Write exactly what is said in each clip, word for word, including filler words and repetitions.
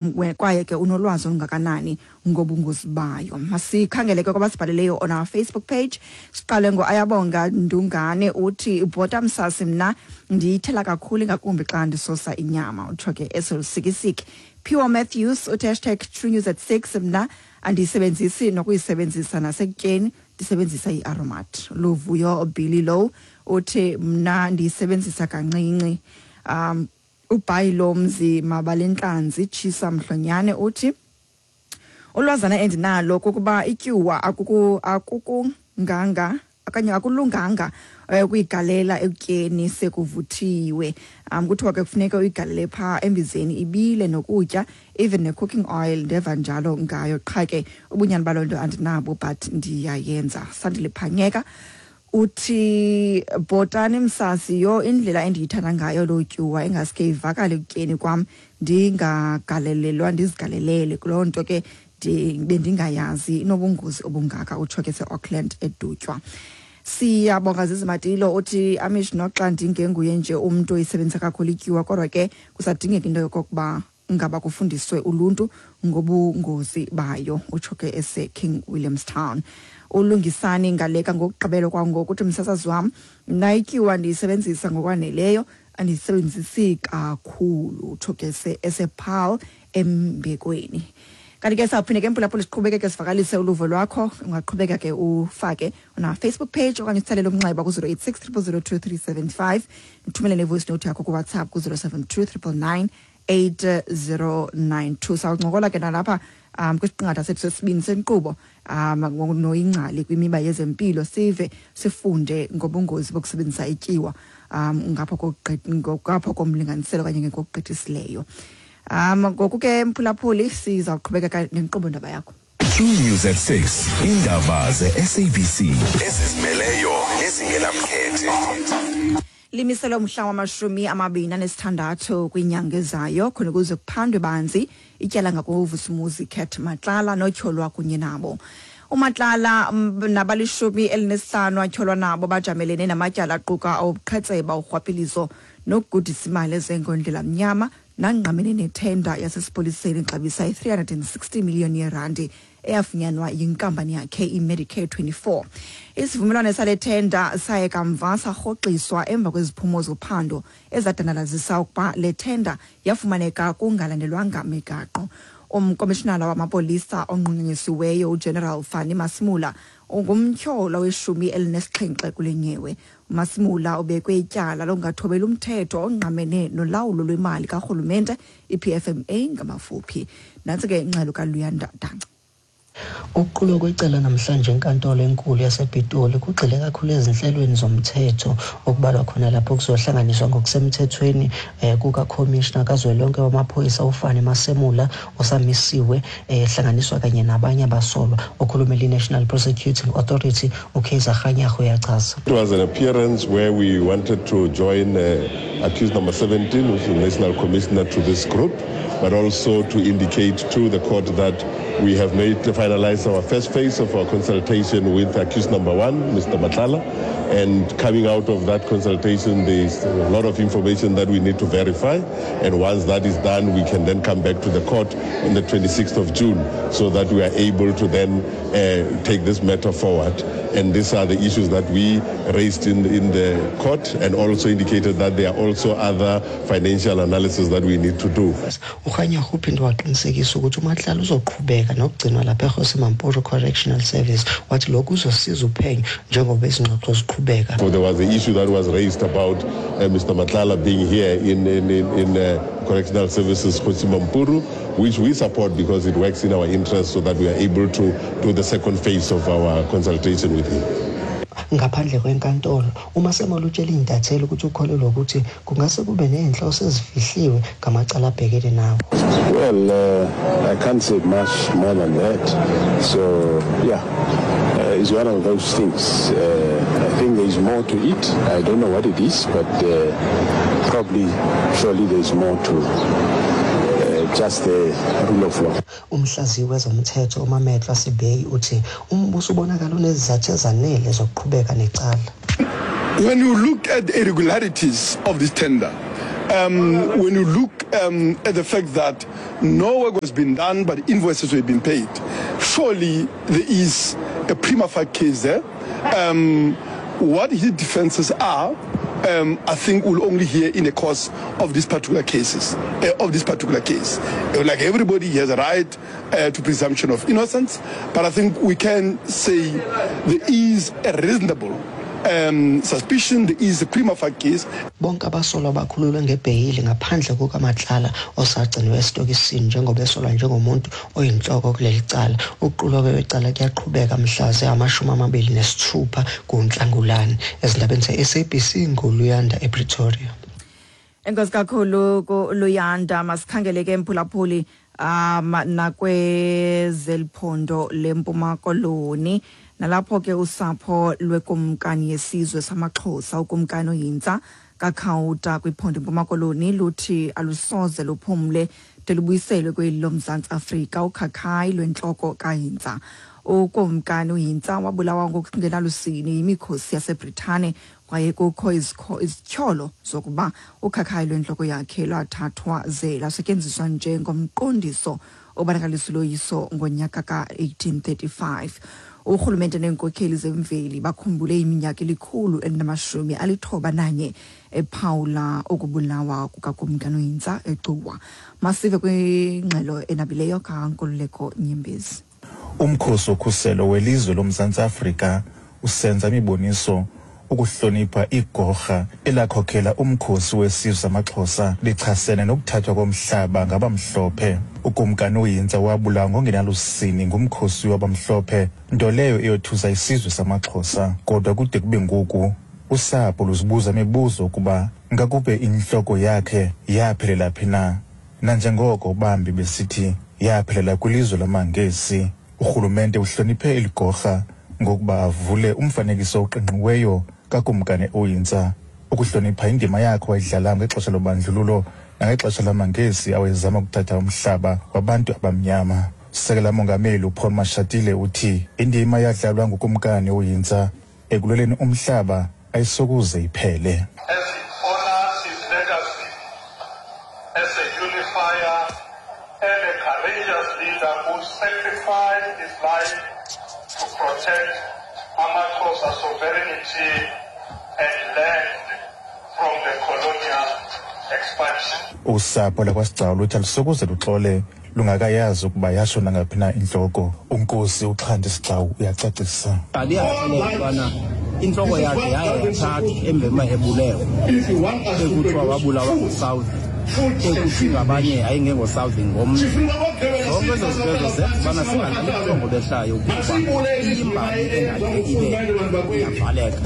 Kwaye ke unolwazi olungakanani ngobungozi bayo? Masikhangele ke kwabasibhaleleyo on our Facebook page. Siqale ngo-Ayabonga Ndungane, uthi, "Bhota msasi, mna ndiyithela kakhulu, ingakumbi xa ndisosa inyama." Utsho ke eselusikisiki. Pure Matthews uthi, hashtag True News at six, "Mna andiyisebenzisi nokuyisebenzisa, nasekutyeni ndisebenzisa i-Aromat." Luvuyo Billy Low uthi, "Mna ndiyisebenzisa kancinci." um ubhayi lomzi Mabalentlanzi Tshisa Mhlonyane uthi, "Ulwazana endinalo kukuba ityuwa akuku akukunganga okanye akulunganga eh, ukuyigalela ekutyeni sekuvuthiwe. um kuthiwa ke kufuneka uyigalele phaa embizeni ibile nokutya, even ne-cooking oil ndeva njalo ngayo. Qha ke ubunyani baloo nto andinabo, but ndiyayenza." Sandile Phanyeka uthi, "Bhotani msasi, yho, indlela endiyithanda ngayo loo tyuwa, ingaske ivakale ekutyeni kwam, ndingagalelelwa ndizigalelele kuloo nto ke, bendingayazi inobungozi obungaka." Utsho ke se-Auckland eDutywa. Siyabonga. Zizimatilo uthi, "Amish, noxa ndingenguye nje umntu oyisebenzisa kakhulu ityuwa, kodwa ke kusadingeka into yokokuba ngaba kufundiswe uluntu ngobungozi bayo." Utsho ke ese-King Williamstown. Ulungisani Ngaleka ngokugqibelo kwangoku uthi, "Msasazi wam, mna ityuwa ndiyisebenzisa ngokwaneleyo, andiyisebenzisi kakhulu." Utsho ke esePaarl Embekweni. Kanti ke sawuphinde ke, mphulaphula, siqhubekeke sivakalise uluvo lwakho. Ungaqhubeka ke ufake on Facebook page okanye usitsalele umnxeba ku-zero eight six triple zero two three seven five, uthumele ne-voice note yakho kuWhatsApp ku-zero seven two triple nine eight zero nine two. Sawuncokola ke nalapha um kwisiqingatha sethu sesibini senkqubo um noyingcali kwimiba yezempilo, sive sifunde ngobungozi bokusebenzisa ityiwa um ngapha ngapha komlinganiselo okanye ngokugqithisileyo. um ngoku ke, mphulaphuli, sizawuqhubekeka nenkqubo ndaba yakho. True News at six, indaba ze-S A B C ezizimeleyo nezingenamkhethe. Limiselwe umhla wamashumi amabini anesithandathu kwinyanga ezayo khona ukuze kuphandwe banzi ityala ngakuVusumuzi Cat Matlala notyholwa kunye nabo. UMatlala nabalishumi elinesihlanu atyholwa nabo bajamelene namatyala aquka awubuqhetseba, urhwaphilizo nokugudisa imali ezengondlela mnyama, nangqamene nethenda yasesipoliseni ixabisa i-three hundred and sixty million yerandi eyafunyanwa yinkampani yakhe iMedicare twenty-four. Isivumelwano sale thenda saye kamva sarhoxiswa emva kweziphumo zophando ezadandalazisa ukuba le thenda yafumaneka kungalandelwanga migaqo. Umkomishinala wamapolisa onqunyanyisiweyo uGeneral Fannie Masemola ungumtyholwa weshumi elinesixhenxe kule nyewe. UMasemola ubekwe ityala lokungathobeli umthetho ongqamene nolawulo lwemali karhulumente, i-P F M A ngamafuphi. Nantsi ke ingxelo kaLuyanda Danca. Ukuqulwa kwecala namhlanje enkantolo enkulu yasePitoli kugxile kakhulu ezinhlelweni zomthetho, okubalwa khona lapho kuzohlanganiswa ngokusemthethweni eh, kukakhomishna kazwelonke wamaphoyisa uFannie Masemola osamisiwe, ehlanganiswa eh, kanye nabanye abasolwa. Okhulumela i-National Prosecuting Authority uKaizer Kganyago uyachaza. It was an appearance where we wanted to join uh, accused number seventeen, which is the National Commissioner, to this group, but also to indicate to the court that we have made finalized our first phase of our consultation with accused number one, Mister Matlala. And coming out of that consultation, there's a lot of information that we need to verify. And once that is done, we can then come back to the court on the twenty-sixth of June so that we are able to then uh, take this matter forward. And these are the issues that we raised in, in the court and also indicated that there are also other financial analysis that we need to do. UKganyago uphinde waqinisekisa ukuthi uMatlala uzoqhubeka nokugcinwa lapha eKgosi Mampuru Correctional Service, wathi lokhu kuzosiza uphenyo njengoba izingxoxo ziqhubeka. So there was the issue that was raised about uh, Mister Matlala being here in, in, in, in uh, Correctional Services Kgosi Mampuru, which we support because it works in our interest so that we are able to do the second phase of our consultation with him. Ngaphandle kwenkantolo, uMasemola utshela iy'ntatheli ukuthi ukholelwa ukuthi kungase kube ney'nhloso ezifihliwe ngamacala abhekene nawo. Well, uh, I can't say much more than that. So, yeah, uh, it's one of those things. Uh, I think there is more to it. I don't know what it is, but uh, probably, surely there's more to uh, just the rule of law. Umhlaziyi wezomthetho uMametlwa Sebei uthi umbuso ubonakala unezizathu ezanele zokuqhubeka necala. When you look at the irregularities of this tender, Um, when you look um, at the fact that no work was been done, but invoices were being paid, surely there is a prima facie case there. Um, what his defenses are, um, I think we'll only hear in the course of these particular cases, uh, of this particular case. Uh, like everybody, he has a right uh, to presumption of innocence, but I think we can say there is a reasonable um, suspicion, there is a prima facie case. Bonke abasolwa bakhululwe ngebheyili ngaphandle kukaMatlala osagciniwe esitokisini njengoba esolwa njengomuntu oyinhloko kuleli cala. Ukuqulwa kwecala kuyaqhubeka mhla zingamashumi amabili nesithupha kuNhlangulana. Ezindabeni ze-S A B C nguLuyanda ePretoria. Enkosi kakhulu kuLuyanda. Masikhangele ke mphulaphuli um nakwezeliphondo leMpuma Koloni, nalapho ke usapho lwekumkani yesizwe samaXhosa ukumkani uHintsa kaKhawuta kwiphondo iMpuma Koloni luthi alusoze luphumle de lubuyiselwe kweli loMzantsi Afrika ukhakhayi lwentloko kaHintsa. Ukumkani uHintsa wabulawa ngokungenalusini yimikhosi yaseBritane kwaye kukho izityholo zokuba ukhakhayi lwentloko yakhe lwathathwa ze lwasetyenziswa njengomqondiso obonakalisa uloyiso ngonyaka ka eighteen thirty-five. Urhulumente neenkokheli zemveli bakhumbule iminyaka elikhulu elinamashumi alithoba nanye ephawula ukubulawa kukakumkani uHintsa eGcuwa. Masive kwingxelo enabileyo kaNkululeko Nyembezi. Umkhosi wokhuselo welizwe loMzantsi Afrika usenza imiboniso ukuhlonipha igorha elakhokhela umkhosi wesizwe samaXhosa lichasene nokuthathwa komhlaba ngabamhlophe. Ukumkani uHintsa wabulawa ngongenalusini ngumkhosi wabamhlophe, nto leyo eyothusa isizwe samaXhosa. Kodwa kude kube ngoku usapho luzibuza imibuzo ukuba ngakube inhloko yakhe yaphelela phi na, nanjengoko bambi besithi yaphelela kwilizwe lamaNgesi. Urhulumente uhloniphe eligorha ngokuba avule umfanekiso oqingqiweyo kakumkani uHintsa ukuhlonipha indima yakhe wayidlala ngexesha lobandlululo nangexesha lamaNgesi awayezama ukuthatha umhlaba wabantu abamnyama. Sekela mongameli uPaul Mashatile uthi indima yadlalwa ngukumkani uHintsa ekulweleni umhlaba ayisokuze iphele. As he honors his legacy as a unifier and a courageous leader who sacrificed his life to protect amaXhosa sovereignty and land from the colonial expansion. Usapho lakwaSigcawu luthi alusokuze luxole lungakayazi ukuba yashona ngaphi na intloko. Unkosi uXhanti Sigcawu uyacacisa. Aliyabona intloko yakhe yaye yathathwa emveni ebulewe, ekuthiwa wabulawa nguSouth, ekuthi ngabanye ayingengo-South ngomnye. Zonke ezo zinto ezo zenza ubana singalali ubuthongo behlayo ukuba imbali engade ibe iyavaleka.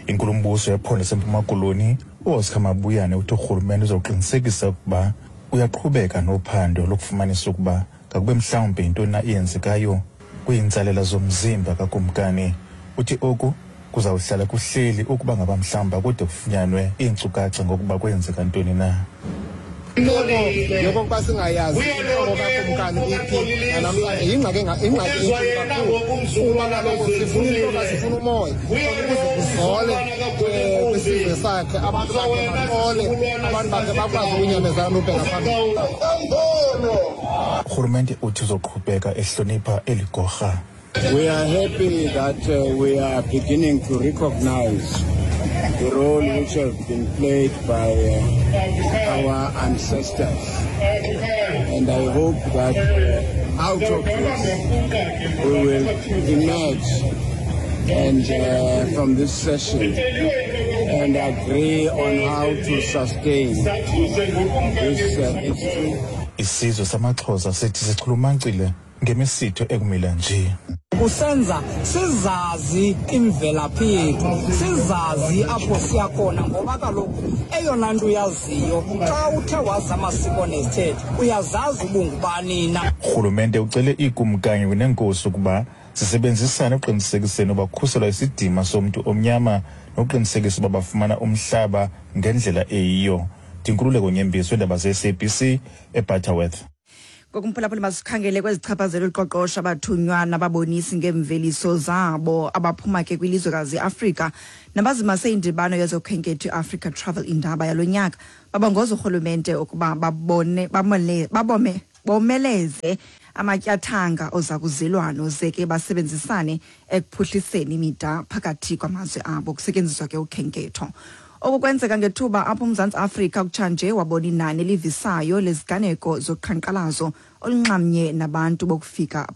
Inkulumbuso yephondo laseMpuma Koloni uOscar Mabuyane uthi urhulumente uzoqinisekisa ukuba uyaqhubeka nophando lokufumanisa ukuba ngakube mhlawumbi yintoni na eyenzekayo kwiintsalela zomzimba kakumkani. Uthi oku kuzawuhlala kuhleli ukuba ngaba mhlawumbi akude kufunyanwe iinkcukacha ngokuba kwenzeka ntoni na. Intloko yokokuba singayazi intloko kakumkani iphi namhlanje yingxaki ingxaki enkulu kakhulu, kuba kaloku sifuna intloko, sifuna umoya ukuze kuzole kwisizwe sakhe, abantu bakhe baxole, abantu bakhe bakwazi ukunyamezela nobheka phambili. Urhulumente uthi uzoqhubeka ehlonipha eli gorha. We are happy that uh, we are beginning to recognize the role which has been played by uh, our ancestors. And I hope that uh, out of this we will emerge and uh, from this session and agree on how to sustain this uh, history. Isizwe samaXhosa sithi sichulumancile ngemisitho ekumila nje. Kusenza sizazi imvelaphi yethu, sizazi apho siya khona, ngoba kaloku eyona nto uyaziyo xa uthe wazi amasiko nezithethe uyazazi ubungubani na. Urhulumente ucele iikumkani neenkosi ukuba zisebenzisane ekuqinisekiseni uba kukhuselwa isidima somntu omnyama nokuqinisekisa uba bafumana umhlaba ngendlela eyiyo. Ndinkululeko Nyembezi weendaba ze-S A B C eButterworth. Ngokumphulaphula masikhangele kwezichaphazela uqoqosho abathunywa nababonisi ngeemveliso zabo abaphuma ke kwilizwekazi iAfrika nabazimase indibano yezokhenketho iAfrica Travel Indaba yalo nyaka Babongoza urhulumente ukuba babone bamole babome bomeleze amatyathanga ozakuzelwano ze ke basebenzisane ekuphuhliseni imida phakathi kwamazwe abo kusetyenziswa ke ukhenketho. Oku kwenzeka ngethuba apho uMzantsi Afrika kutshanje wabona inani elivisayo leziganeko zoqhankqalazo olunxamnye nabantu bokufika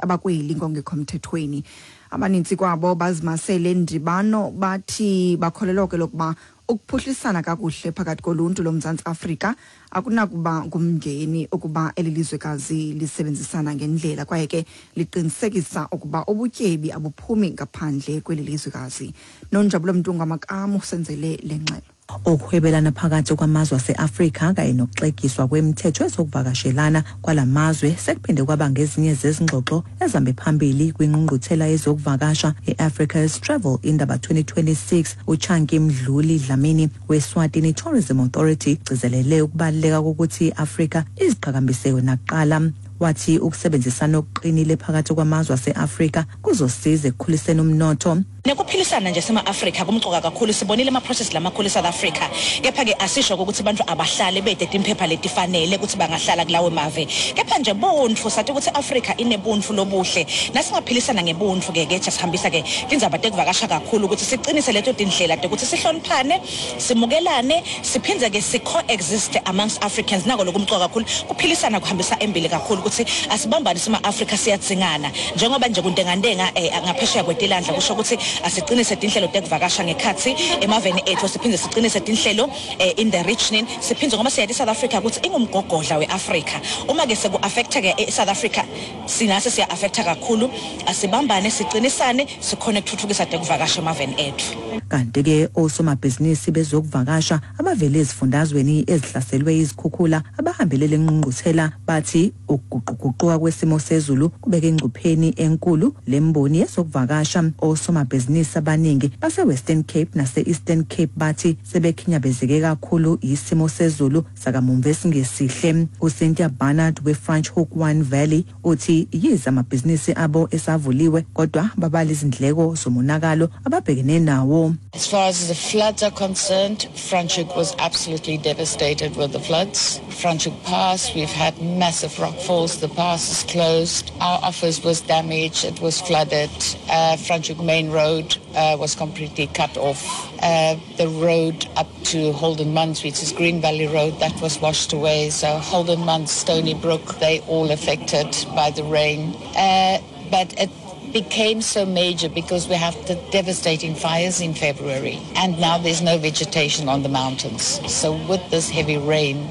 abakweli ngongekho mthethweni. Abanintsi kwabo bazimasele ndibano bathi bakholelwa ke lokuba ukuphuhlisana kakuhle phakathi koluntu loMzantsi Afrika akunakuba ngumngeni ukuba eli lizwekazi lisebenzisana ngendlela kwaye ke liqinisekisa ukuba ubutyebi abuphumi ngaphandle kweli lizwekazi. Nonjabulo Mntungwa Makamu senzele le ngxelo. Ukuhwebelana phakathi kwamazwe ase-Afrika kanye nokuxegiswa kwemithetho ezokuvakashelana kwalamazwe sekuphinde kwaba ngezinye zezingxoxo ezihambe phambili kwingqungquthela yezokuvakasha i-Africa's Travel Indaba twenty twenty-six. uChanki Mdluli Dlamini weSwatini Tourism Authority ugcizelele ukubaluleka kokuthi i-Afrika iziqhakambise yona kuqala. Wathi ukusebenzisana okuqinile phakathi kwamazwe ase-Afrika kuzosiza ekukhuliseni umnotho. Nekuphilisana nje sema-Afrika kumcoka kakhulu. Sibonile ama-process lamakhulu eSouth Africa, kepha-ke asisho ukuthi abantu abahlale bedede imphepha letifanele ukuthi bangahlala kulawo mave, kepha nje buntfu sathi ukuthi Afrika inebuntfu lobuhle nasingaphilisana ngebuntfu-ke ke sihambisa-ke tindzaba tekuvakasha kakhulu ukuthi siqinise leto tindlela tekuthi sihloniphane, simukelane, siphindze-ke si-coexist amongst Africans. Nako lokumcoka kakhulu kuphilisana kuhambisa embili kakhulu ukuthi asibambane sima-Afrika siyadzingana njengoba nje kuntengantenga eh, ngaphesheya kwetilandla kusho ukuthi asiqinise tinhlelo tekuvakasha ngekhatsi emaveni ethu, siphinde siqinise tinhlelo eh, in the region, siphinde ngoba siyathi South Africa ukuthi ingumgogodla weAfrika. Uma ke seku-affecta ke eSouth Africa sinase siya-affecta kakhulu. Asibambane siqinisane sikhone ukuthuthukisa tekuvakasha emaveni ethu. Kanti ke osomabhizinisi bezokuvakasha abavele ezifundazweni ezihlaselwe izikhukhula abahambelele ingqungquthela bathi ukuguquguquka kwesimo sezulu kubeke engcupheni enkulu lemboni yezokuvakasha. Osomabhizinisi abaningi base-Western Cape nase-Eastern Cape bathi sebekhinyabezeke kakhulu isimo sezulu sakamumva esingesihle. uCynthia Barnard we-French Hook One Valley uthi yize amabhizinisi abo esavuliwe kodwa babala izindleko zomonakalo ababhekene nawo. As far as the floods are concerned, Franschhoek was absolutely devastated with the floods. Franschhoek Pass, we've had massive rockfalls. The pass is closed. Our office was damaged. It was flooded. Uh, Franschhoek Main Road uh, was completely cut off. Uh, the road up to Holden Muntz, which is Green Valley Road, that was washed away. So Holden Muntz, Stony Brook, they all affected by the rain. Uh, but it became so major because we have the devastating fires in February, and now there's no vegetation on the mountains. So with this heavy rain,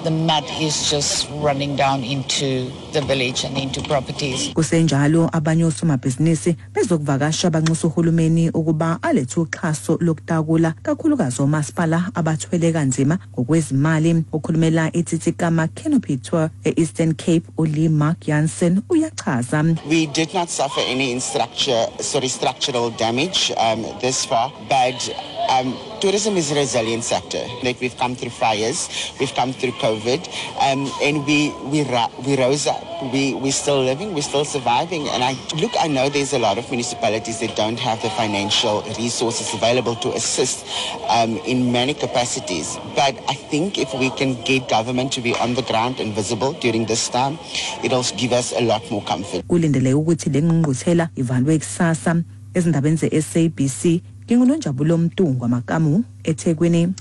the mud is just running down into the village and into properties. Kusenjalo abanye osomabhizinisi bezokuvakasha banxusa uhulumeni ukuba alethe uxhaso lokutakula kakhulukazi omasipala abathwele kanzima ngokwezimali. Okhulumela iTsitsikamma Canopy Tour e-Eastern Cape uLee Mark Jansen uyachaza. We did not suffer any structure, sorry, structural damage um, this far, but um, tourism is a resilient sector. Like we've come through fires, we've come through COVID, um, and we we we rose up. We we're still living, we're still surviving. And I look, I know there's a lot of municipalities that don't have the financial resources available to assist um, in many capacities. But I think if we can get government to be on the ground and visible during this time, it'll give us a lot more comfort. Kulindeleke ukuthi le ngqungquthela ivalwe kusasa. Ezindabeni ze-S A B C, nginguNonjabulo Mntungwa Makamu eThekwini.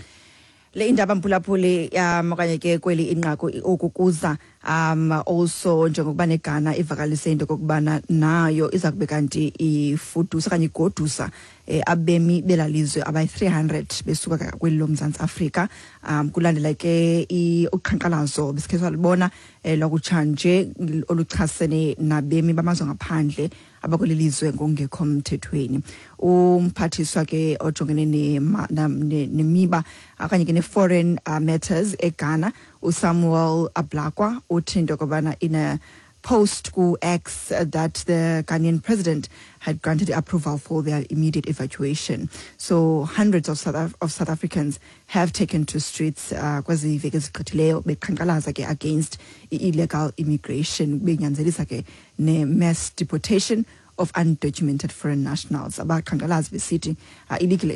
Le indaba mphulaphuli um okanye ke kweli inqaku okukuza um also njengokuba neGhana ivakalise into kokubana nayo iza kube kanti ifudusa okanye igodusa eh, abemi belalizwe abayi three hundred besuka kweli loMzantsi Afrika um kulandela ke uqhankqalazo besikhe salibona eh, lwakutshanje oluchasene nabemi bamazwe ngaphandle abakweli lizwe ngokungekho mthethweni. Umphathiswa ke ojongene nemiba okanye ke ne-foreign uh, matters eGhana uSamuel Ablakwa uthi into yokubana in a post ku X that the Ghanaian president had granted approval for their immediate evacuation. So hundreds of South, Af of South Africans have taken to streets uh, kwezi veki ezigqithileyo beqhankqalaza ke against illegal immigration, benyanzelisa ke ne-mass deportation of undocumented foreign nationals. Abaqhankqalazi besithi uh, illegal,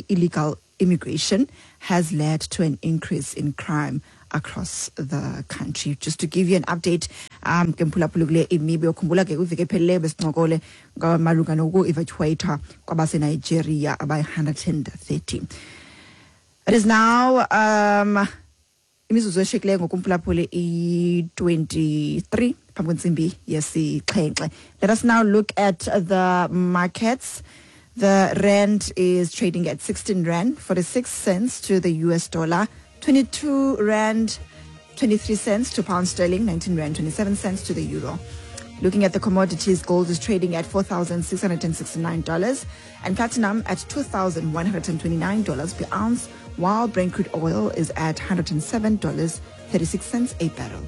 illegal immigration has led to an increase in crime across the country. Just to give you an update, um ke mphulaphuli kule imiba yokhumbula ke kwiveki ephelileyo besincokole malunga noku-evacuate kwabaseNigeria abayi-one hundred thirty. It is now um imizuzu eshiyekileyo ngokumphulaphuli i-twenty-three phambi kwentsimbi yesixhenxe. Let us now look at the markets. The rand is trading at sixteen rand forty-six cents to the U S dollar, twenty-two rand twenty-three cents to pound sterling, nineteen rand twenty-seven cents to the euro. Looking at the commodities, gold is trading at four thousand six hundred sixty-nine dollars and platinum at two thousand one hundred twenty-nine dollars per ounce, while Brent crude oil is at one hundred seven dollars thirty-six cents a barrel.